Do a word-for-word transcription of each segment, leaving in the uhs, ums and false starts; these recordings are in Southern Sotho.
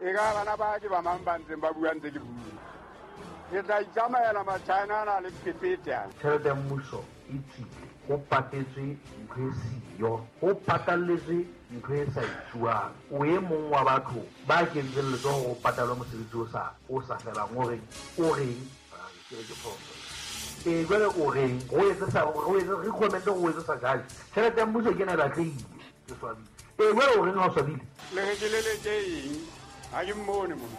E ka bana ba ke ba mang ba ntseng ba bua ntse ke bua. Ke tla itsamaela Machina ana le phephethe ana. Tjhelete ya mmuso e tswile, ho patetswe ntho e siyo, ho patalletswe ntho e sa etsuwang. O e mong wa batho ba kentseng letsoho hore o patalwe mosebetsi o sa o sa felang, o reng o reng ke re ke phoso. Ee, jwale o reng o etse sa o etse re comment o etse sa judge. Tjhelete ya mmuso ke ena e batlehile, ke swabile. Ee, jwale o reng ha o swabile? Le re ke leleke eng? Ha ke mmone mona.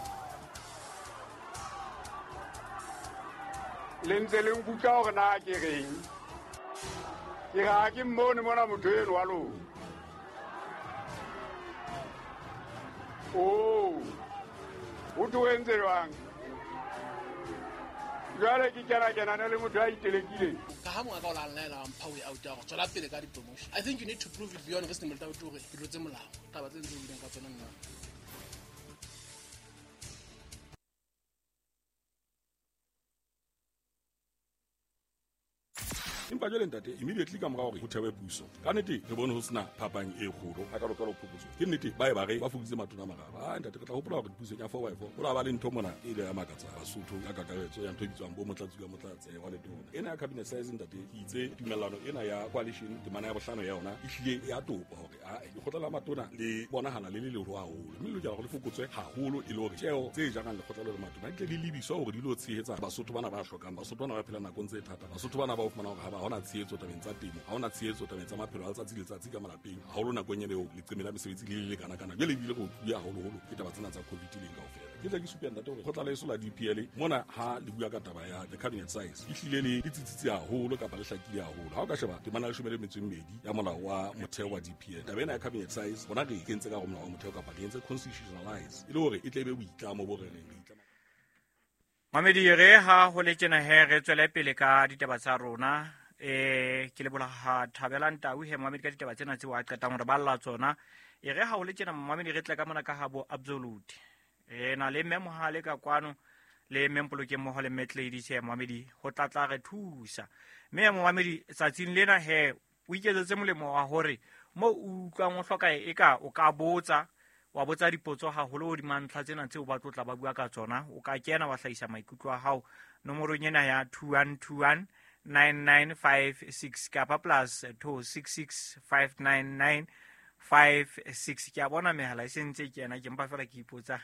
Le ntse le nkutlwa hore na ke reng? Ke re ha ke mmone mona motho eno wa lona. Oh, o tlo entse jwang? Jwale ke kena kenane le motho a itelekileng. Ka ha monga ka o la nlaela wa mpha way out ya hore tswela pele ka di-promotion. I think you need to prove it beyond reasonable doubt hore ke tlotse molao. Taba tse ntse o buileng ka tsona nna. Empa jwale ntate, immediately ka mora hore ho thewe puso, ka nnete re bone ho sena phapang e kgolo ha ka lokela ho phokotso. Ke nnete ba e ba re ba fokoditse matona a mararo. Ah ntate, re tla hopola hore pusong ya four by four ho la ba le ntho mona e ile ya makatsa Basotho ka kakaretso ya ntho e bitswang bo motlatsi ka motlatsi wa letona. Ena ya cabinet size ntate, ke itse tumellano ena ya coalition temana ya bohlano ya yona e hlile ya topa hore a lekgotla la matona le bonahala le le leholo haholo, mme le lokela hore le fokotswe haholo e le hore tjeo tse jarang lekgotla le matona di tle di lebiswa hore di lo tshehetsa Basotho bana ba hlokang, Basotho bana ba phelang nakong tse thata, Basotho bana ba o fumana hore ha ba hona tshehetso tabeng tsa temo, ha hona tshehetso tabeng tsa maphelo a letsatsi le letsatsi ka malapeng, haholo nakong ena eo leqeme la mesebetsi le le lekana-kana. Jwale ebile re utlwile haholoholo ke taba tsena tsa COVID leng kaofela. Ke tla ke supe ntate hore kgotla la heso la D P L mona ha le bua ka taba ya the cabinet size e hlile le le tsitsitse haholo kapa le hlakile haholo. Ha o ka sheba temana ya leshome le metso e mmedi ya molao wa motheo wa D P L, taba ena ya cabinet size bona re e kentse ka hare ho molao wa motheo kapa re entse constitutionalize e le hore e tle e be boitlamo bo re reng re itlama. Mamedi, re ha ho le tjena he re tswele pele ka ditaba tsa rona. Eh ke leboha ha Thabelang Tau he Mamedi ka ditaba tsena tseo a qetang hore balla tsona. E re ha ho le tjena Mamedi re tle ka mona ka ha bo Absolute. Re na le Mme Mohale ka kwano le Mme Mpolokeng mmoho le Mme Gladys he Mamedi ho tla tla re thusa. Mme Mamedi tsatsing lena he o iketsetse molemo wa hore mo o utlwang o hloka e ka o ka botsa, wa botsa dipotso haholo hodima ntlha tsena tseo ba tlo tla ba bua ka tsona. O ka kena wa hlahisa maikutlo a hao nomorong ena ya two one two one nine nine five six kapa plus two six six five nine nine five six. Ke a bona mehala e sentse e kena, ke mpa fela ke ipotsa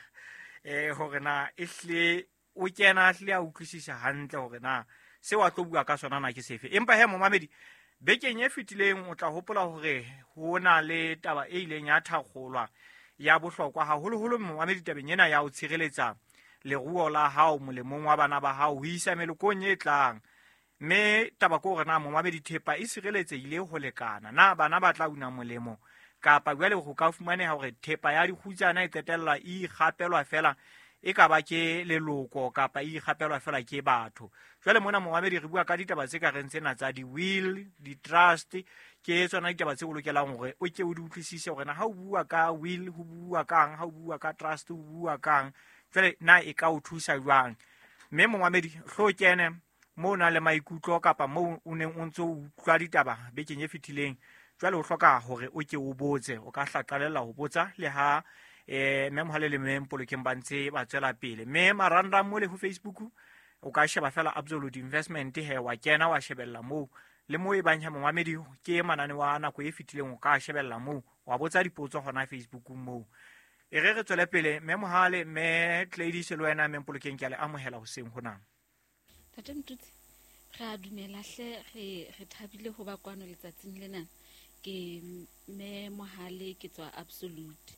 eh hore na e hle o kena hle a utlwisisa hantle hore na seo a tlo bua ka sona na ke sefe. Empa he momamedi, bekeng e fetileng o tla hopola hore ho na le taba e ileng ya thakgolwa ya bohlokwa haholoholo momamedi tabeng ena ya ho tshireletsa leruo la hao molemong wa bana ba hao ho isa melokong e tlang. Mme taba ke hore na momamedi thepa e sireletsehile ho lekana, na bana ba tla una molemo kapa jwale ho ka fumaneha hore thepa ya dikgutsana e qetella e ikgapelwa fela e ka ba ke leloko kapa e ikgapelwa fela ke batho. Jwale mona momamedi re bua ka ditaba tse ka reng tsena tsa di-will, di-trust, ke tsona ditaba tse o lokelang hore o ke o di utlwisise hore na ha o bua ka will ho bua kang, ha o bua ka trust ho bua kang, jwale na e ka o thusa jwang. Mme momamedi hlo kene moo o nang le maikutlo kapa moo o neng o ntso utlwa ditaba bekeng e fetileng, jwale o hloka hore o ke o botse, o ka hla qalella ho botsa le ha eh Mme Mohale le Mme Mpolokeng ba ntse ba tswela pele. Mme marangrang mole ho Facebook o ka sheba fela Absolute Investment he wa kena wa shebella moo, le moo e bang ha momamedi ke manane wa nako e fetileng o ka shebella moo wa botsa dipotso hona Facebook moo. E re re tswele pele Mme Mohale, Mme Gladys le wena Mme Mpolokeng ke a le amohela hoseng hona. Ntate Mtutsi, re a dumela hle, re re thabile ho ba kwano letsatsing lena. Ke Mme Mohale, ke tswa Absolute.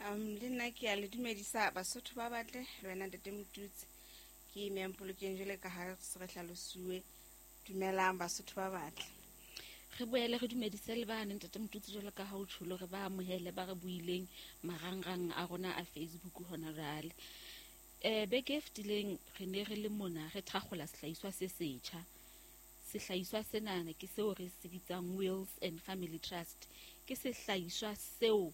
Um le nna ke a le dumedisa Basotho ba batle le wena Ntate Mtutsi. Ke Mme Mpolokeng jwale ka ha se re hlalosuwe. Dumelang Basotho ba batle. Re boele re dumedise le bana Ntate Mtutsi jwale ka ha o tjholo re ba amohele ba re buileng marangrang a rona a Facebook hona jwale. Eh beke e fetileng re ne re le mona re thakgola sehlahiswa se setjha. Sehlahiswa sena ke seo re se bitsang Wills and Family Trust. Ke sehlahiswa seo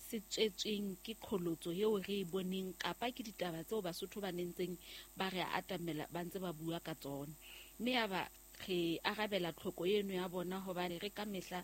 se tswetsweng ke qholotso eo re e boneng kapa ke ditaba tseo Basotho ba nentseng ba re atamela ba ntse ba bua ka tsona. Mme ya ba re arabela tlhoko eno ya bona hobane re ka mehla